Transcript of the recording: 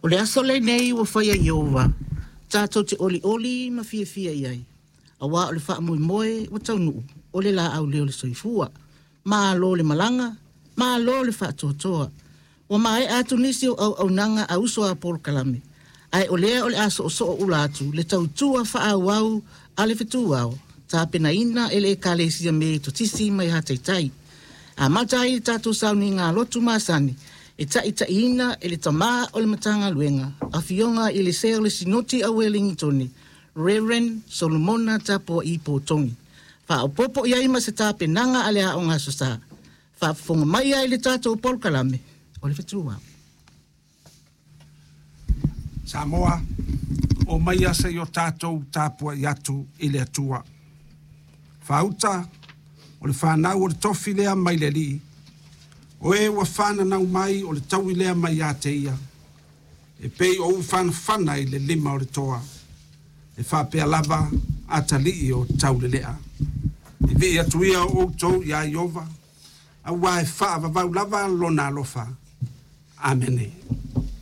O le aso lenei ua faia e Ieova, tatou te olioli ma fiafia i ai, auā o le faamoemoe ua taunuu, o le laau lea o le soifua. Malo le malaga, malo le faatoatoa. Ua maea atu nisi o auaunaga a uso a polokalame, ae o lea o le a soosoo ula atu le tautua faaauau a le fetuao, tapenaina e le Ekalesia Metotisi mai Hataitai. Amata ai le tatou sauniga lotu masani, e taitaiina e le tamā o le Matagaluega, afioga i le Sea o le Sinoti a Uelintone, Reverend Solomona Tapua'i Pōtogi. Faaopoopo i ai ma se tapenaga a le Aoga Aso Sa. Faafofoga mai ai le tatou polokalame o le fetuao. Samoa, o mai se i o tatou tapuai atu i le Atua. Faauta, o le fanau o le tofi lea mai le Alii, o e ua whananau mai o le taui lea mai ia te ia, e pei o ufanafana i le lima o le toa, e faapea lava atalii o taulelea. I vii atu ia o outou ia Ieova, auā e faavavau lava lona alofa. Amene.